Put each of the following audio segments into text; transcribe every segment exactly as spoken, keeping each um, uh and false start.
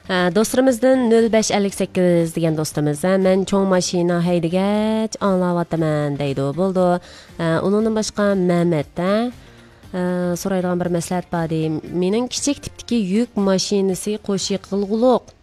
ھە، دوستلىرىمىزدىن نۆل بەش ئەللىك سەككىز دېگەن دوستىمىز، ھە، مەن چوڭ ماشىنا ھەيدىگەچ ئاڭلاۋاتىمەن دەيدۇ. بولىدۇ. ھە، ئۇنىڭدىن باشقا مەمەت، ھە، ھە، سورايدىغان بىر مەسلىھەت بار دەيدۇ. مېنىڭ كىچىك تىپتىكى يۈك ماشىنىسى قوشۇق قىلغۇلۇق.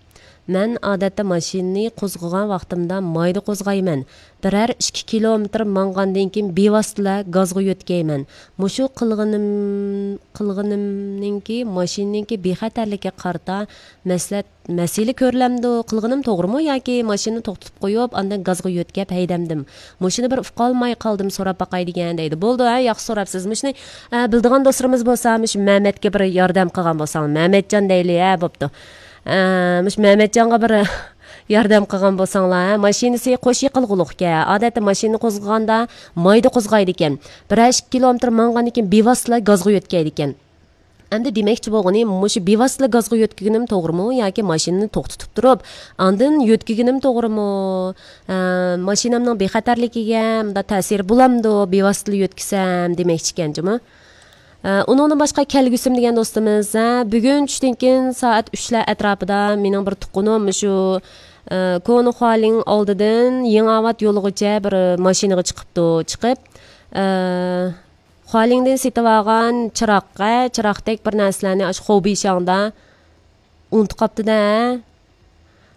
مەن ئادەتتە ماشىنىنى قوزغىغان ۋاقتىمدا مايدا قوزغايمەن. بىرەر ئىككى كىلومېتىر ماڭغاندىن كېيىن بىۋاسىتىلا گازغا يۆتكەيمەن. مۇشۇ قىلغىنىم، قىلغىنىمنىڭكى ماشىنىنىڭكى بىخەتەرلىكىگە قارىتا مەسلىھەت، مەسىلە كۆرۈلەمدۇ؟ قىلغىنىم توغرىمۇ ياكى ماشىنىنى توختىتىپ قويۇپ، ئاندىن گازغا يۆتكەپ ھەيدەمدىم؟ مۇشۇنى بىر ئۇقالماي قالدىم، سوراپ باقاي دېگەن دەيدۇ. بولىدۇ، ھە، ياخشى سوراپسىز. مۇشۇنى، ئە، بىلىدىغان دوستلىرىمىز بولسا، مۇشۇ مەمەتكە بىر ياردەم قىلغان بولساڭ، مەمەتجان دەيلى، ھە، بوپتۇ. ئە، مۇشۇ مەمەتجانغا بىر ياردەم قىلغان بولساڭلار، ھە، ماشىنىسى قوشۇق قىلغۇلۇقكەن. ئادەتتە ماشىنىنى قوزغىغاندا مايدا قوزغايدىكەن. بىرەر ئىككى كىلومېتىر ماڭغاندىن كېيىن بىۋاسىتىلا گازغا يۆتكەيدىكەن. ئەمدى دېمەكچى بولغىنى، مۇشۇ بىۋاسىتىلا گازغا يۆتكىگىنىم توغرىمۇ ياكى ماشىنىنى توختىتىپ تۇرۇپ، ئاندىن يۆتكىگىنىم توغرىمۇ؟ ئە، ماشىنامنىڭ بىخەتەرلىكىگە مۇنداق تەسىرى بولامدۇ، بىۋاسىتىلا يۆتكىسەم دېمەكچىكەن جۇمۇ. ئە، ئۇنىڭدىن باشقا كەلگۈسىم دېگەن دوستىمىز، ھە، بۈگۈن چۈشتىن كېيىن سائەت ئۈچلەر ئەتراپىدا مېنىڭ بىر تۇغقىنىم مۇشۇ، ئە، كونا خۇالىڭ ئالدىدىن يېڭى ئاۋات يولىغىچە بىر ماشىنىغا چىقىپتۇ. چىقىپ، ئە، خۇالىڭدىن سېتىۋالغان چىراغ، ھە، چىراغدەك بىر نەرسىلەرنى ئاشۇ خوبىشاڭدا ئۇنتۇپ قاپتۇ-دە.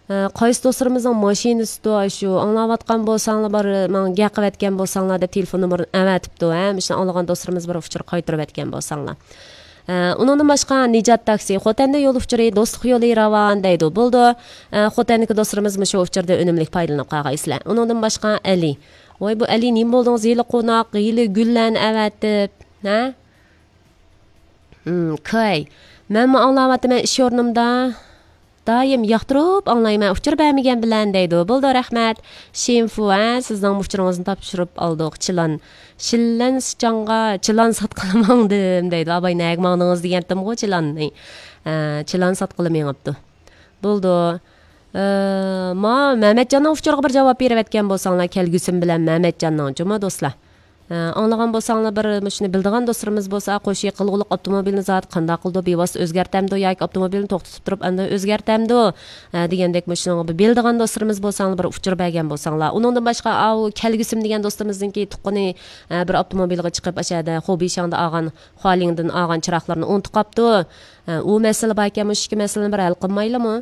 ئە، قايسى دوستلىرىمىزنىڭ ماشىنىسىدۇ ئاشۇ، ئاڭلاۋاتقان بولساڭلار، بار، ماڭا گەپ قىلىۋەتكەن بولساڭلار دەپ تېلېفون نومۇرىنى ئەۋەتىپتۇ، ھە، مۇشۇنى ئاڭلىغان دوستلىرىمىز بىر ئۇچۇر قايتۇرۇۋەتكەن بولساڭلار. ئە، ئۇنىڭدىن باشقا نىجات تاكسى، خوتەندە يول ئۇچۇرى، دوستلۇق يولى راۋان دەيدۇ. بولىدۇ. ئە، خوتەندىكى دوستلىرىمىز مۇشۇ ئۇچۇردىن ئۈنۈملۈك پايدىلىنىپ قالغايسىلەر. ئۇنىڭدىن باشقا ئەلى. ۋاي، بۇ ئەلى نېمە بولدىڭىز؟ ھېلى قوناق، ھېلى گۈللەرنى ئەۋەتىپ، ھە؟ ھىم، كاي. مەنمۇ ئاڭلاۋاتىمەن ئىش ئورنۇمدا. دائىم ياقتۇرۇپ ئاڭلايمەن، ئۇچۇر بەرمىگەن بىلەن دەيدۇ. بولىدۇ، رەھمەت. شىنفۇ، ھە، سىزنىڭ ئۇچۇرىڭىزنى تاپشۇرۇپ ئالدۇق. چىلان. شىللەن سىچاڭغا چىلان ساتقىلى ماڭدىم دەيدۇ. ئاباي، نەگە ماڭدىڭىز دېگەنتىمغۇ چىلاننى. ھە، چىلان ساتقىلى مېڭىپتۇ. بولىدۇ. ئە، ما، مەمەتجاننىڭ ئۇچۇرىغا بىر جاۋاب بېرىۋەتكەن بولساڭلار، كەلگۈسىم بىلەن مەمەتجاننىڭ، جۇمۇ دوستلار. ئە، ئاڭلىغان بولساڭلار، بىر مۇشۇنى بىلىدىغان دوستلىرىمىز بولسا، قوشۇق قىلغۇلۇق ئاپتوموبىلنى زادى قانداق قىلىدۇ، بىۋاسىتە ئۆزگەرتەمدۇ ياكى ئاپتوموبىلنى توختىتىپ تۇرۇپ ئاندىن ئۆزگەرتەمدۇ، ئە، دېگەندەك مۇشۇنىڭغا بىر بىلىدىغان دوستلىرىمىز بولساڭلار، بىر ئۇچۇر بەرگەن بولساڭلار. ئۇنىڭدىن باشقا، ئاۋۇ كەلگۈسىم دېگەن دوستىمىزنىڭكى تۇغقىنى، ئە، بىر ئاپتوموبىلغا چىقىپ، ئاشۇ يەردە خوبىشاڭدا ئالغان خۇالىڭدىن ئالغان چىراغلىرىنى ئۇنتۇپ قاپتۇ. ئە، ئۇ مەسىلە باركەن، مۇشۇ ئىككى مەسىلىنى بىر ھەل قىلمايلىمۇ؟